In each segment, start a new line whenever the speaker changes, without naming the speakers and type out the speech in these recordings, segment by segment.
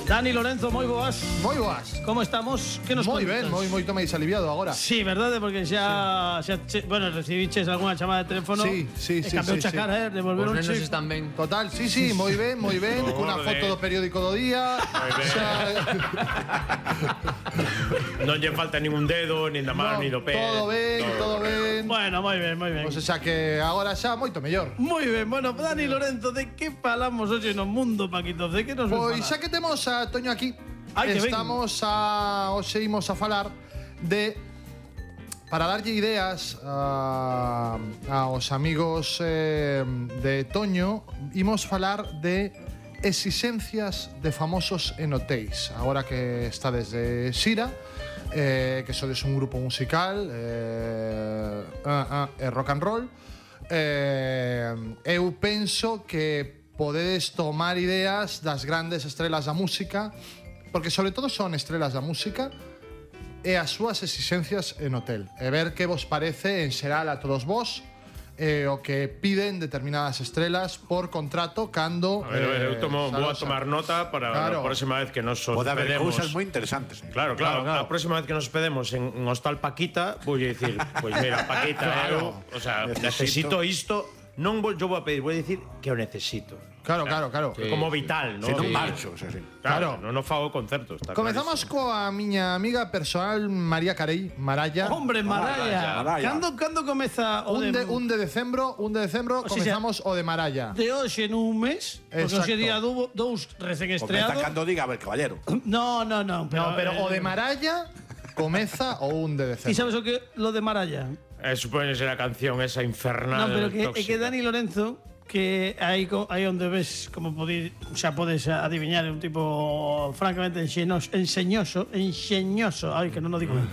Dani Lorenzo, moi boas.
Moi boas.
Como estamos? Que nos
moi
contas?
ben, moito máis aliviado agora.
Sí, verdade, porque xa bueno, recibiches algunha chamada de teléfono.
Sí.
Cambiou a cara, devolveron
Os nenos están ben.
Total, sí, moi ben, cunha foto do periódico do día.
Non lle falta ningún dedo, nin da mano, nin do pé.
Todo ben.
Bueno, moi ben.
O sea que agora xa moito mellor.
Moi ben, bueno, Dani Lorenzo, de que falamos hoxe no mundo, Paquito? De que nos
Pois xa que temos a Toño aquí, hoxe imos a falar de, para darlle ideas aos amigos de Toño, imos falar de exixencias de famosos en hotéis. Agora que está desde Xira, que sodes un grupo musical rock and roll, eu penso que podedes tomar ideas das grandes estrelas da música, porque sobre todo son estrelas da música, e as súas exixencias en hotel, e ver que vos parece en xeral a todos vos o que piden determinadas estrelas por contrato cando...
A ver, eu vou a tomar nota para a próxima vez que nos hospedemos.
Pode haber cousas moi interesantes.
Claro. A próxima vez que nos hospedemos en Hostal Paquita, vou dicir, pois mira, Paquita, eu, o sea, necesito isto, non vou a pedir, vou dicir que o necesito.
Claro.
Sí. Como vital, non?
Se non marcho, o sea, sí.
Claro, non fago concertos.
Comezamos coa miña amiga personal María Carey, Maralla.
Hombre, Maralla. Cando comeza o de...
Un de decembro, comezamos o de Maralla.
De hoxe nun mes, porque hoxe día dous recén estreados.
Comeza cando diga, a ver, caballero.
No,
pero o de Maralla comeza o 1 de decembro.
E sabes o que lo de Maralla?
Supone ser a canción esa infernal.
No, pero que Dani Lorenzo, que aí onde ves, como xa podes adiviñar, é un tipo francamente enxeñoso, ai, que non o digo ben.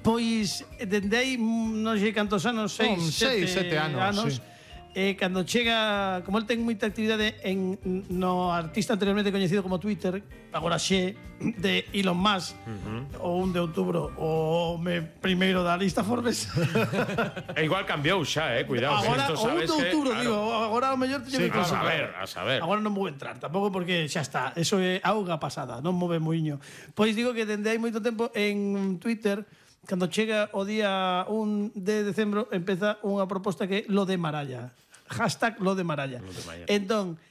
Pois, dende aí, non sei cantos anos, 6, 7 anos, cando chega, como el ten moita actividade no artista anteriormente coñecido como Twitter, agora xe, de Elon Musk, o 1 de outubro, o primeiro da lista Forbes.
E igual cambiou xa, cuidado.
Agora, o 1 de outubro, digo, agora o mellor teño que
consultar. A saber.
Agora non vou entrar, tampouco porque xa está, eso é auga pasada, non move moiño. Pois digo que dende hai moito tempo en Twitter, cando chega o día 1 de decembro, empeza unha proposta que é lo de Maralla. Hashtag lo de Maralla. Entón,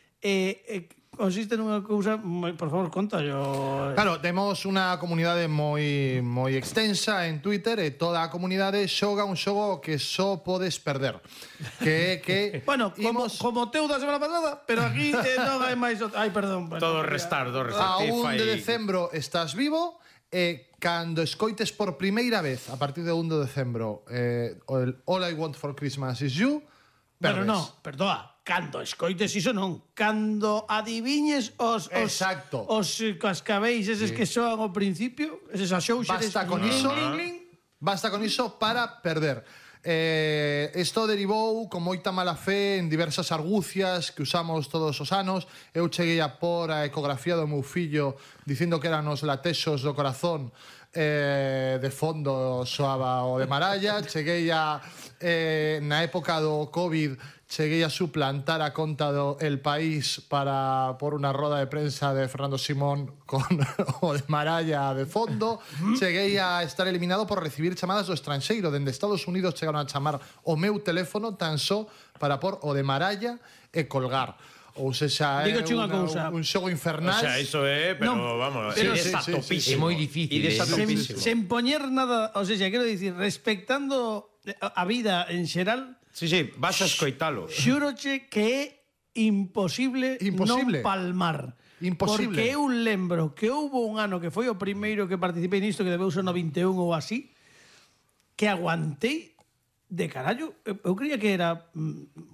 consiste nunha cousa, por favor, conta yo.
Claro, temos unha comunidade moi extensa en Twitter e toda a comunidade xoga un xogo que só podes perder. Que
bueno, como teu da semana pasada, pero aquí non hai máis. Ai, perdón.
Todo restar.
A 1 de decembro estás vivo e cando escoites por primeira vez a partir de 1 de decembro All I Want for Christmas is You,
pero non, perdoa, cando escoites iso non, cando adiviñes os cascabeis eses que soan ao principio, eses axouxeres.
Basta con iso para perder. Isto derivou con moita mala fe en diversas argucias que usamos todos os anos. Eu cheguei a por a ecografía do meu fillo dicindo que eran os latexos do corazón, de fondo soaba o de Maralla. Cheguei a na época do Covid cheguei a suplantar a conta do El País para por unha roda de prensa de Fernando Simón con o de Maralla de fondo. Cheguei a estar eliminado por recibir chamadas do estranxeiro. Dende Estados Unidos chegaron a chamar o meu teléfono tan só para por o de Maralla e colgar. Ou sexa, é un xogo infernal.
O sea, iso é, pero vamos,
é topísimo. É moi difícil.
Sen poñer nada, o sea, quero dicir, respectando a vida en xeral.
Sí, vas a escoitalo.
Xúroche que é imposible non palmar.
Imposible.
Porque eu lembro que houve un ano que foi o primeiro que participei nisto, que debeu ser no 21 ou así, que aguantei de carallo. Eu creía que era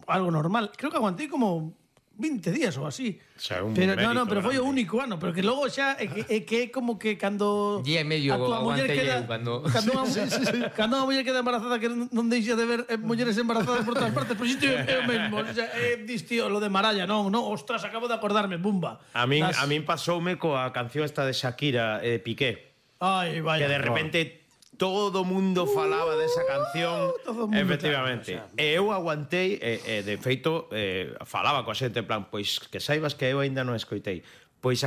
algo normal. Creo que aguantei como 20 días ou así.
O sea, un
pero pero foi o único ano, pero que logo xa é que é como que cando
día e medio aguantei eu
cando unha muller queda embarazada, que non deixa de ver mulleres embarazadas por todas partes, pero isto é o mesmo, o sea, distío, lo de Maralla, non, ostras, acabo de acordarme, bumba.
A min pasoume coa canción esta de Shakira e Piqué.
Ai, vaya.
Que de repente todo o mundo falaba desa canción, efectivamente.
Claro,
e eu aguantei, de feito, falaba coa xente, en plan, pois que saibas que eu aínda non escoitei. Pois